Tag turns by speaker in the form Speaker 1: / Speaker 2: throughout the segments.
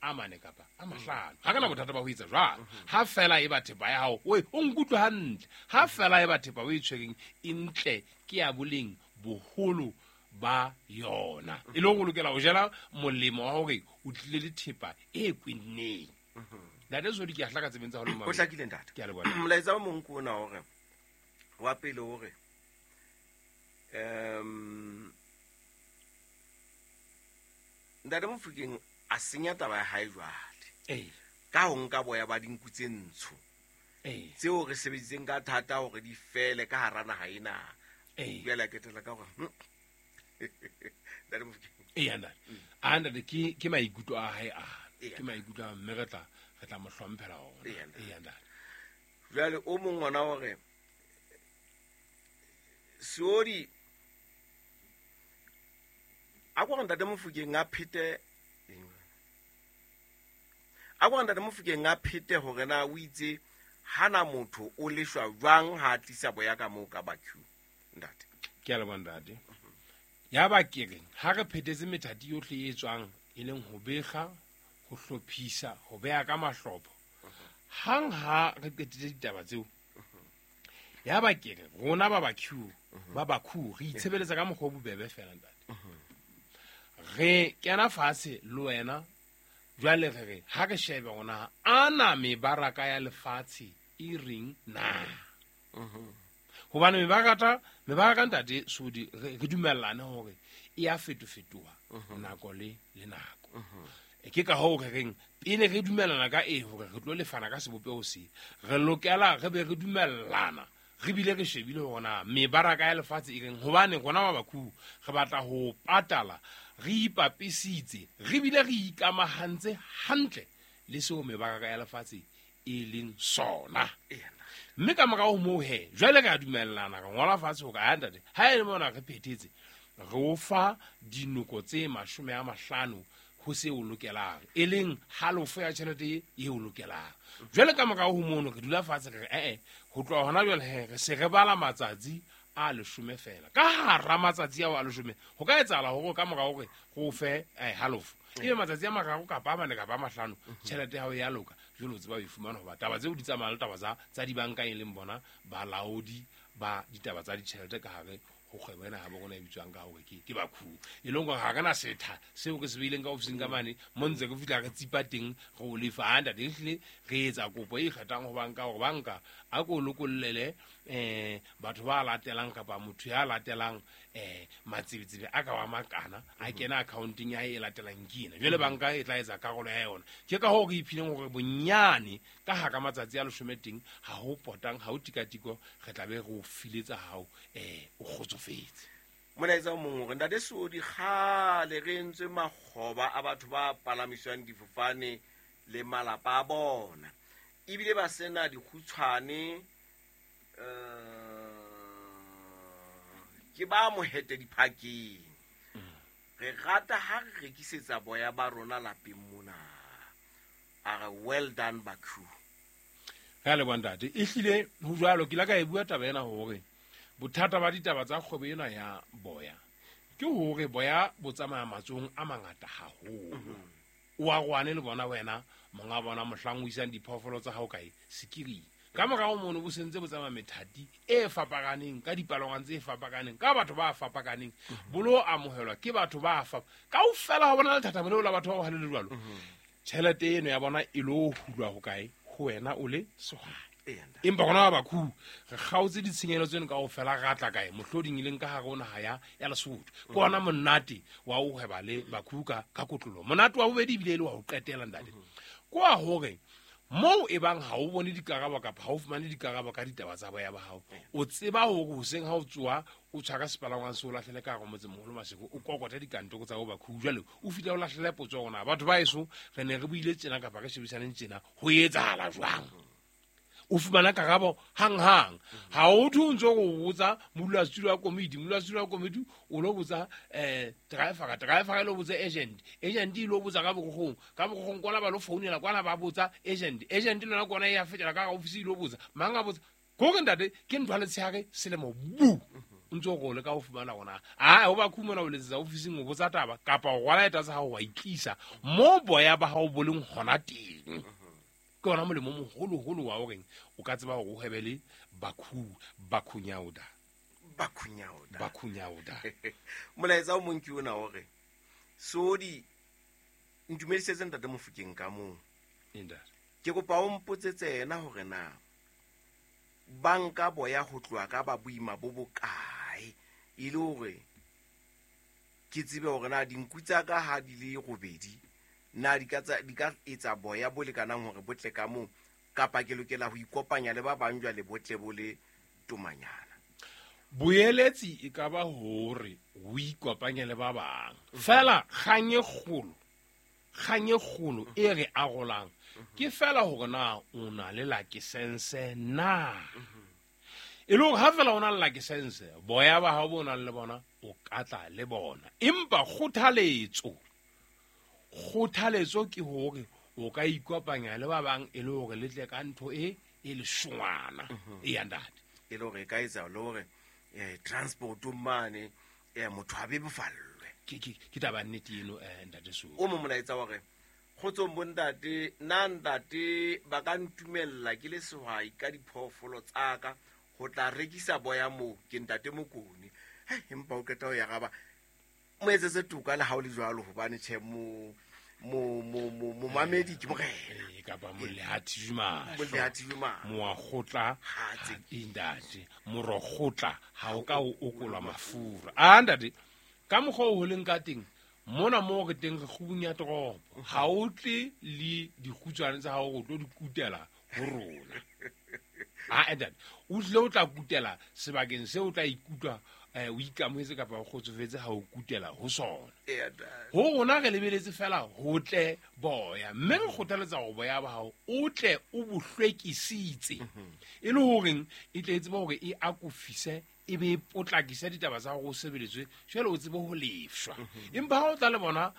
Speaker 1: a mane kapa a mahlano. Ha ke na bothata ba ho etsa jwalo. Ha fela e ba thepa ya hao, oe, o nkutlwe hantle. Ha fela e ba thepa o e tshwereng e ntle, ke ya boleng boholo ba yona. E le hore o lokela ho jela molemo wa hore o tlile le thepa e kwenneng. Ntate Sodi, ke a hlaka tsebeng tsa hao le
Speaker 2: O hlakile, ntate.
Speaker 1: Ke a leboha.
Speaker 2: Molaetsa o mong ke ona hore wa pele hore ntate Mofokeng a senya taba ya hae jwale ka ho nka boya ba dinku tse ntsho tseo re sebeditseng ka thata hore di fele ka hara naha ena. Jwale a ketela ka hore ntate Mofokeng.
Speaker 1: Eya, ntate. A ntate, ke maikutlo a hae ana. Ke maikutlo a, mme re tla mo hlomphela ona.
Speaker 2: Eya, ntate.
Speaker 1: Eya, ntate.
Speaker 2: Jwale o mong ona hore Seodi a kwa ntate Mofokeng a phete, a kwa ntate Mofokeng a phete hore na o itse hana motho o leshwa jwang ha a tlisa boya ka moo ka Bakhu, ntate.
Speaker 1: Ke a leboha, ntate. Ya ba ke reng ha re phethetse methati yohle e tswang, e leng ho bekga, ho hlophisa, ho beha ka mahlopho. Hang ha re qetile ditaba tseo, ya ba ke re rona ba Bakhu, ba Bakhu re itshebeletsa ka mokgwa o bobebe fela, ntate. Re kena fatshe le wena, jwale re re ha re shebe rona ana mebaraka ya lefatshe e reng na. Hobane mebaraka ntate Sodi, re dumellane hore e a fetofetoha nako le nako. Ke ka hoo re reng pele re dumellana ka e hore re tlo lefana ka sebopeho se, re lokela re be re dumellana, re bile re shebile hore na mebaraka ya lefatshe e reng. Hobane rona ba Bakhu re batla ho patala re ipapisitse, re bile re ikamahantse hantle le seo mebaraka ya lefatshe e leng sona. Mme ka morao ho moo he, jwale re a dumellana, re ngola fatshe hore, a ntate, ha e le mona re phethetse, re o fa dinoko tse 50 ho se o lokelang, e leng halofo ya tjhelete e o lokelang. Jwale ka morao ho mono re dula fatshe re re, ho tloha hona jwale he, re se re bala matsatsi a 10 fela. Ka hara matsatsi ao a 10, ho ka etsahala hore ka morao hore re o fe halofo, ebe matsatsi a 3 kapa a 4 kapa a 5, tjhelete ya hao ya loka. Jwale o tseba ho e fumana, hoba taba tseo di tsamaya le taba tsa dibanka, e leng bona balaodi ba ditaba tsa ditjhelete ka hare ho kgwebo ena ha bo rona e bitswang ka hore ke Bakhu. E leng hore ha re na setha seo re se beileng ka ofising ka mane, mo ntse re fihla re tsipa teng re o lefa. Ha ntate, ehlile re etsa kopo e ikgethang ho banka hore banka a ko lokollele, batho ba latelang kapa motho ya latelang, matsebetsebe a ka wa makana a kena accounting ya hae e latelang ke ena. Jwale banka e tla etsa karolo ya yona. Ke ka hoo re iphileng hore bonyane ka hara matsatsi a 10 teng, ha ho potang, ha ho tikatiko, re tla be re o file tsa hao, o kgotsofetse.
Speaker 2: Molaetsa o mong hore ntate Seodi, kgale re entswe makgoba a batho ba palamiswang difofane le malapa a bona, ebile ba sena dikgutshwane, ke ba mohete diphakeng. Re rata ha re rekisetsa boya ba rona lapeng mona. A re well done Bakhu.
Speaker 1: Re a leboha ntate. Ehlile ho jwalo, ke ile ka e bua taba ena hore bothata ba ditaba tsa kgwebo ena ya boya ke hore boya bo tsamaya matsohong a mangata haholo. O a rwane le bona wena monga bona mohlang o isang diphoofolo tsa hao kae sekiring. Ka morao mono bo sentse bo tsamaya methati e fapakaneng, ka dipalangwang tse fapakaneng, ka batho ba fapakaneng, bo lo amohelwa ke batho ba kaofela ha bona lethathamo leo la batho ba bohale le jwalo. Tjhelete eno ya bona e lo hulwa ho kae? Ho wena o le sehwai. Empa rona ba Bakhu re kgaotse ditshenyehelo tseno kaofela, ra tla kae? Mohloding e leng ka hare ho naha ya Lesotho. Ke ona monate wa ho hweba le Bakhu ka kotloloho. Monate wa bobedi ebile e le wa ho qetela, ntate. Ke wa hore moo e bang ha o bone dikarabo kapa ha o fumane dikarabo ka ditaba tsa boya ba hao, o tseba hore hoseng ha o tsoha o tshwara sepalangwang se o lahlele ka hare motsemoholo Maseru, o kokote dikantoro tsa bo Bakhu. Jwale o fihla o lahlele potso hore na batho ba heso re ne re buile tjena kapa re shebisaneng tjena, ho etsahala jwang? O fumana karabo hang-hang. Ha o thwe o ntso o botsa modulasetulo wa komiti, modulasetulo wa komiti o lo botsa, driver, driver e lo botsa agent, agent e lo botsa ka borogong, ka borogong kwana ba lo founela kwana ba botsa agent, agent le yona kwana e ya fetela ka office e lo botsa, mang a botsa. Ke hore ntate, ke ntho ya letshehare selemo bu. O ntse o re o leka ho fumana hore na a ho Bakhu mona o letsetsa ofising o botsa taba kapa o rwala eta tsa hao wa itlisa mo boya ba hao bo leng hona teng. Ke ona molemo o moholoholo wa horeng o ka tseba hore o hwebe le Bakhu, Bakhunyauda.
Speaker 2: Bakhunyauda.
Speaker 1: Bakhunyauda.
Speaker 2: Molaetsa o mong ke ona hore Sodi ntumedisetse ntate Mofokeng ka moo.
Speaker 1: Ntate.
Speaker 2: Ke kopa o mpotsetse yena hore na banka boya ho tloha ka ba boima bo bokae e le hore ke tsebe hore na dinku tsa ka ha di le robedi na di ka etsa boya bo lekanang hore bo tle ka moo kapa ke lokela ho ikopanya le ba bang jwale bo tle bo le tomanyana.
Speaker 1: Boeletsi e ka ba hore o ikopanye le ba bang. Fela kgang e kgolo e re arolang ke fela hore na o na le lakesense na. E le hore ha fela o na le lakesense, boya ba hao bo nang le bona o ka tla le bona. Empa kgothaletso ke hore o ka ikopanya le ba bang e le hore le tle ka ntho e leshongwana e ya ntate.
Speaker 2: E le hore e ka etsa le hore transport mane motho a be bofallwe.
Speaker 1: Ke taba nnete eno ntate so.
Speaker 2: O mo molaetsa hore kgotsong bo ntate, na ntate ba ka ntumella ke le sehwai ka diphoofolo tsa ka ho tla rekisa boya moo ke ntate Mokone. Empa o qeta ho ya gaba mo etsetse toka le ha o le jwalo hobane tjhe mo momamedi ke morena.
Speaker 1: Kapa molehathi juma moakgotla ntate morokgotla ha o ka o okolwa mafura. A ntate ka mokgwa o holeng ka teng mona mo re teng re kgubung ya toropo ha o tle le dikgutswane tsa hao o tlo di kutela ho rona. A ntate o tlile o tla kutela sebakeng seo o tla ikutlwa o ikamohetse kapa o kgotsofetse ha o kutela ho sona. Ho rona re lebeletse fela ho tle boya mme re kgothaletsa hore boya ba hao o tle o bo hlwekisitse e le horeng e tle e tsebe hore e akofise e be potlakisa ditaba tsa hore o sebeletswe jwale o tsebe ho lefshwa. Empa ha o tla le bona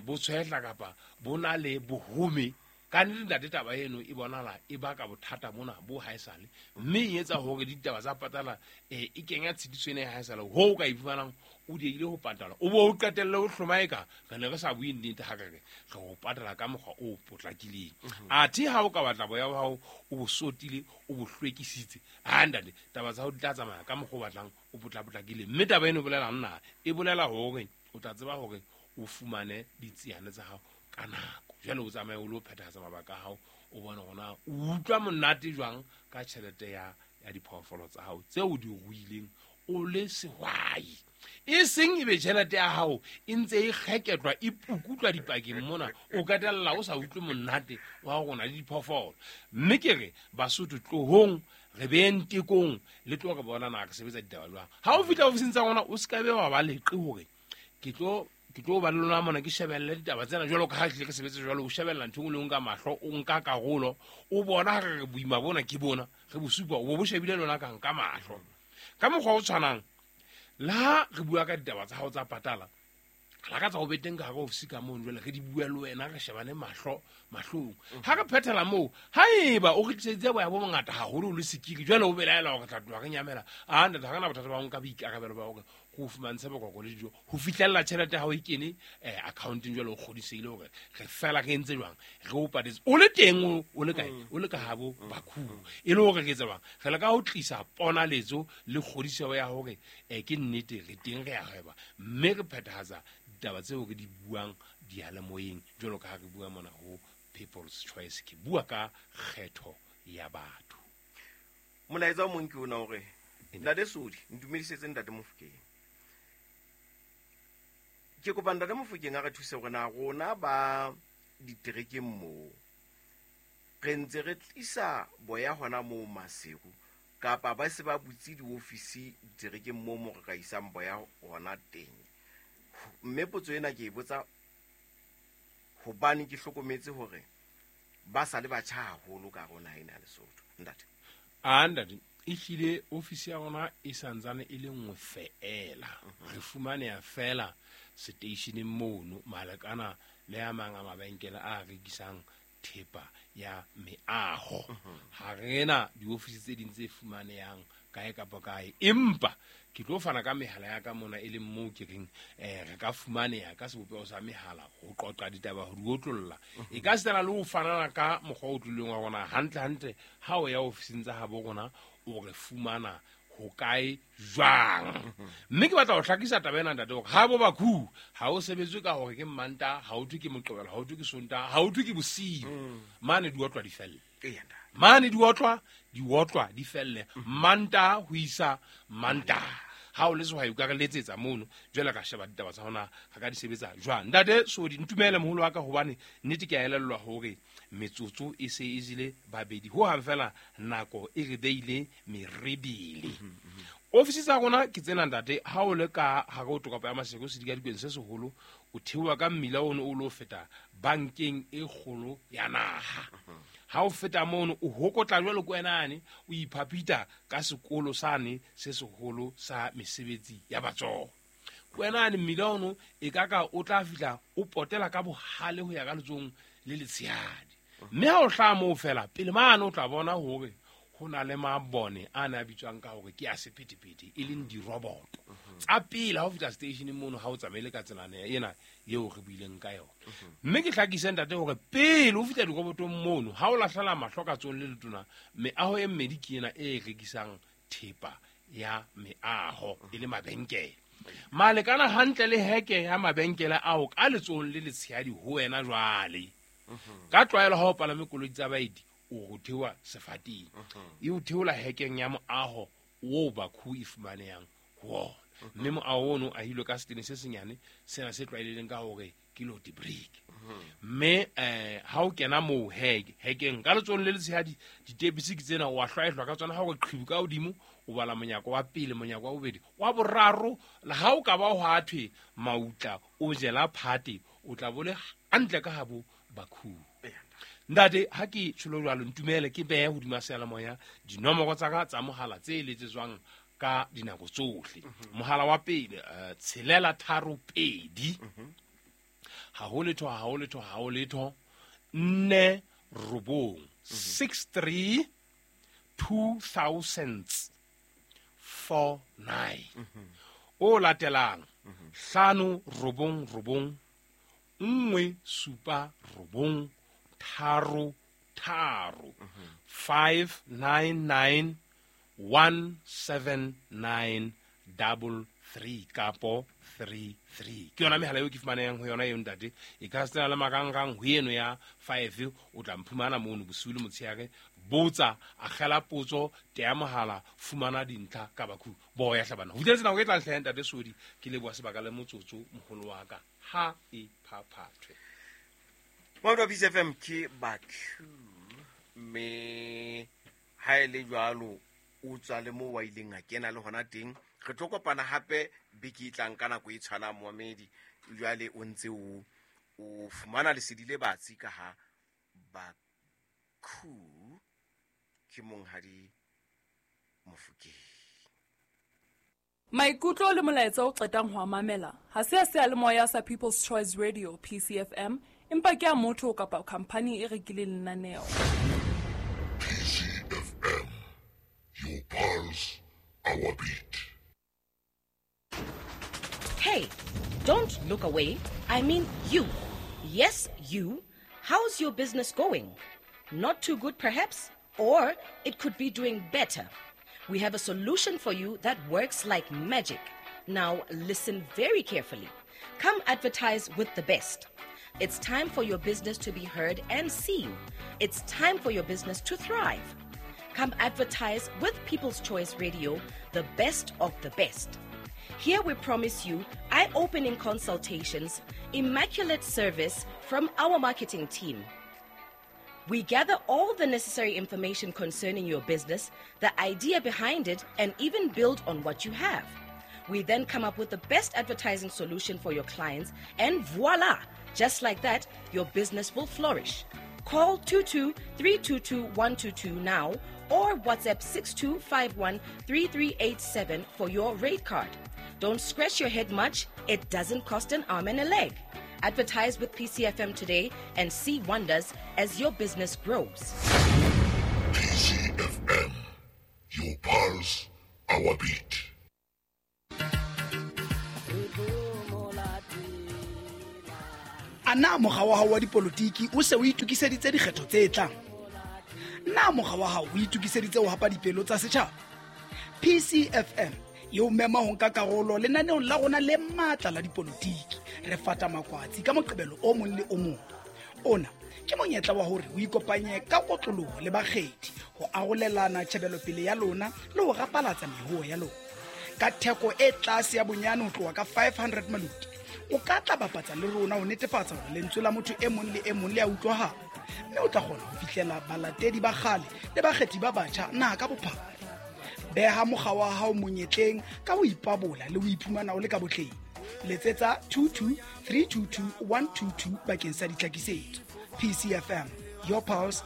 Speaker 1: bo tshwehla kapa bo na le bohome ka nnete ntate taba eno e bonala e baka bothata mona bo haesale mme e etsa hore ditaba tsa patala e kenya tshitiso ena ya haesale ho o ka iphumanang o diehile ho patala o bo o qetelle o hlomaeka re ne re sa bue nnete ha re re o patala ka mokgwa o potlakileng. Athe ha o ka batla boya ba hao o bo sotile o bo hlwekisitse ha ntate taba tsa hao di tla tsamaya ka mokgwa o batlang o potlapotlakile. Mme taba eno e bolelang na e bolela hore o tla tseba hore o fumane ditsiane tsa hao ka nako jwale o tsamaye o lo phethahatsa mabaka a hao o bone hore na o utlwa monate jwang ka tjhelete ya diphoofolo tsa hao tseo o di ruileng o le sehwai. E seng ebe tjhelete ya hao e ntse e kgeketlwa e pukutlwa dipakeng mona o qetella o sa utlwe monate wa hore o na le diphoofolo. Mme ke re Basotho tlohong re beng tekong le tlo re bona na re sebetsa ditaba jwang. Ha o fihla ofising tsa rona o se ka be wa ba leqe hore ke tlo ba le lona mona ke shebelle ditaba tsena jwalo ka ha tlile ke sebetse jwalo o shebella ntho e nngwe le nka mahlo o nka karolo o bona re boima bona ke bona re bo supa o bo shebile lona ka nka mahlo. Ka mokgwa o tshwanang le ha re bua ka ditaba tsa hao tsa patala la ka tsa ho beteng ka hare ofisi ka mono jwale re di bua le wena re shebane mahlo mahlong. Ha re phethela moo haeba o re tliseditse boya bo bongata haholo o le sekiri jwale o belaela hore tla tloha re nyamela a ntate ha re na bothata ba ho nka boikarabelo ba hore go fumantshe bokoko le dijo ho fihlella tjhelete ya hao e kene accounteng jwale o kgodisehile hore re fela re entse jwang re o patetse o le teng o le kae o le ka habo Bakhu e le hore re etsa jwang re leka ho tlisa ponaletso le kgodiseho ya hore ke nnete re teng re a hweba mme re phethahatsa ditaba tseo re di buang diyalemoyeng jwalo ka ha re bua mona ho People's Choice. Ke bua ka kgetho ya batho.
Speaker 2: Molaetsa o mong ke ona hore ntate Sodi ntumedisetse ntate Mofokeng. Ke kopa ntate Mofokeng a re thuse hore na rona ba diterekeng moo re ntse re tlisa boya hona moo Maseru kapa ba se ba butse diofisi diterekeng moo mo re ka isang boya hona teng. Mme potso ena ke e botsa hobane ke hlokometse hore ba sa le batjha haholo ka rona ena Lesotho. Ntate.
Speaker 1: A ntate ehlile ofisi ya rona e santsane e le nngwe feela. Re fumaneha feela seteisheneng mono malekana le a mang a mabenkele a rekisang thepa ya meaho. Ha re na diofisi tse ding tse fumanehang kae kapa kae. Empa ke tlo fana ka mehala ya ka mona e leng moo ke reng re ka fumaneha ka sebopeho sa mehala ho qoqa ditaba ho di otlolla. E ka sitana le ho fanana ka mokgwa o tlileng wa rona hantle hantle ha o ya ofising tsa habo rona o re fumana ho kae jwang. Mme ke batla ho hlakisa taba ena ntate hore ha bo Bakhu ha o sebetswe ka hore ke Mmantaha, ha o thwe ke Moqebelo, ha o thwe ke Sontaha, ha o thwe ke bosiu. Mane di otlwa di felle. Mane di otlwa di felle. Mantaha ho isa Mantaha. Ha o le sehwai o ka re letsetsa mono, jwale ka sheba ditaba tsa hona re ka di sebetsa jwang. Ntate Sodi, ntumele moholo wa ka hobane nnete ke a elellwa hore metsotso e se e jele babedi ho hang fela nako e re beile merebele. Ofisi tsa rona ke tsena ntate, ha o le ka hare ho toropo ya Maseru sedikadikeng se seholo, o theoha ka mmila ono o lo feta bankeng e kgolo ya naha. Ha o feta mono o hokotla jwalo ko wenane, o iphapita ka sekolo sane se seholo sa mesebetsi ya matsoho. Kwenane mmila ono e ka ka o tla fihla o potela ka bohale ho ya ka letsohong le letshehadi. Mme ha o hlaha moo fela pele mane o tla bona hore ho na le mabone a ne a bitswang ka hore ke a sephethephethe e leng diroboto tsa pele ha o fihla stationeng mono ha o tsamaile ka tselana ena eo re buileng ka yona. Mme ke hlakise ntate hore pele o fihla dirobotong mono ha o lahlela mahlo ka tsohong le letona, meaho e mmedi ke ena e rekisang thepa ya meaho e le mabenkele. Malekana hantle le heke ya mabenkele ao ka letsohong le letshehadi ho wena jwale. Ka tlwaelo ha o palame koloi tsa baeti o ho theoha sefateng. E o theola hekeng ya moaho oo Bakhu e fumanehang ho ona. Mme moaho ono o ahilwe ka setene se senyane sena se tlwaelehileng ka hore ke lote brick. Mme ha o kena moo hekeng ka letsohong le letshehadi ditepisi ke tsena o a hlwaehlwa ka tsona ha o qhibu ka hodimo o bala monyako wa pele, monyako wa bobedi, wa boraro. Le ha o ka ba hwa thwe mautla o jela phate o tla bole hantle ka habo Bakhu. Ntate ha ke tsholo jwalo ntumele ke behe hodima seyalemoya dinomoro tsa ka tsa mohala tse letsetswang ka dinako tsohle. Mohala wa pele 632 ha ho letho ha ho letho ha ho letho 4 9 63 2000 49. O latelang 5 9 9 1 7 9 3 3 5 9 9 1 7 9 3 kapo 3 3. Ke yona mehala eo ke fumanehang ho yona eo ntate. E ka se le marangrang ho eno ya 5 o tla mphumana mono bosiu le motshehare. Botsa, akgela potso, teya mohala, fumana dintlha ka Bakhu. Boya hlabana. Ho fihletse nako e tlang hle ntate Sodi, ke leboha sebaka le motsotso moholo wa ka. Ha e phaphathwe.
Speaker 2: Mautlwa Peace FM ke Bakhu, mme ha e le jwalo o tswa le moo wa ileng a kena le hona teng. Re tlo kopana hape beke e tlang ka nako e tshwanang momamedi. Jwale o ntse o fumana lesedi le batsi ka ha Bakhu ke monghadi Mofokeng.
Speaker 3: Maikutlo le molaetsa o qetang ho a mamela ha se a seyalemoya sa People's Choice Radio PCFM, empa ke a motho kapa khampani e rekileng lenaneo.
Speaker 4: PCFM, your pulse, our beat.
Speaker 5: Hey, don't look away. I mean you. Yes, you. How's your business going? Not too good, perhaps? Or it could be doing better. We have a solution for you that works like magic. Now, listen very carefully. Come advertise with the best. It's time for your business to be heard and seen. It's time for your business to thrive. Come advertise with People's Choice Radio, the best of the best. Here we promise you eye-opening consultations, immaculate service from our marketing team. We gather all the necessary information concerning your business, the idea behind it, and even build on what you have. We then come up with the best advertising solution for your clients, and voila! Just like that, your business will flourish. Call 22-322-122 now or WhatsApp 6251-3387 for your rate card. Don't scratch your head much. It doesn't cost an arm and a leg. Advertise with PCFM today and see wonders as your business grows.
Speaker 4: PCFM, your pulse, our beat.
Speaker 6: A na mokga wa hao wa dipolotiki o se o itokiseditse dikgetho tse tlang? Na mokga wa hao o itokiseditse ho hapa dipelo tsa setjhaba? PCFM e o mema ho nka karolo lenaneong la rona le matla la dipolotiki. Re fata makwatsi ka Moqebelo o mong le o mong. Ona ke monyetla wa hore o ikopanye ka kotloloho le bakgethi ho arolelana tjhebelopele ya lona le ho rapalatsa mehoo ya lona. Ka theko e tlase ya bonyane ho tloha ka 500 maluti, o ka tla bapatsa le rona ho netefatsa hore lentswe la motho e mong le e mong le a utlwahala, mme o tla kgona ho fihlela balatedi ba kgale le bakgethi ba batjha naha ka bophara. Beha mokga wa hao monyetleng ka ho ipabola le ho iphumana o le ka botleng. Letsetsa 22 322 122 bakeng sa ditlhakisetso. PCFM, your pulse.